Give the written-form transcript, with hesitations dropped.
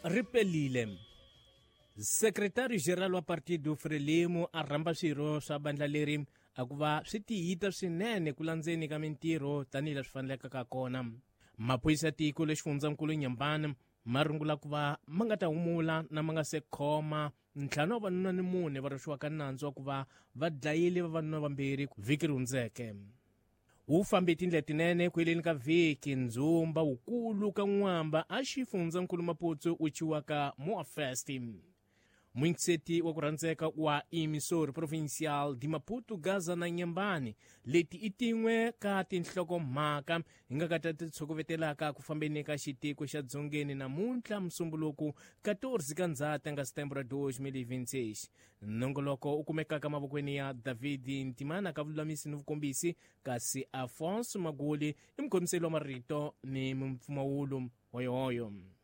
Ri pelile. Sekretari Geral wa Partido Frelimo a rhamba swirho swa bandla leri a ku va swi tiyita swinene ku landzeni ka mintirho tanihileswi fanelekaka kona. Maphorisa ya tiko lexifundzankulu Nyambani ma rungula ku va ma nga ta humula na ma nga se khoma ntlhanu wa vanuna ni mune va rhwexiwaka nandzu wa ku va va dlayile vavanuna vambirhi vhiki ri hundzeke. Wu fambe tindlela tinene ku heleni ka vhiki ndzhumba wukulu ka n'wamba a xifundzankulu Maputo wu ciwaka Moafest. Muyingiseti wa ku rhandzeka wa Emissor Provincial de Maputo, Gaza na Nyambani. Leti i tin'we ka tinhlokomhaka hi nga ka ta ti tshokovetelaka ku fambeni ka xitiko xa dzongeni namuntlha Musumbuluku 14 ka Ndzhati nga Setembro 2026. Nongoloko u kumekaka mavokweni ya David Ntimana ka vululamisi ni vukombisi, kasi Afonso Maguli i mukhomiseli wa marito ni mimpfumawulo. Hoyohoyo.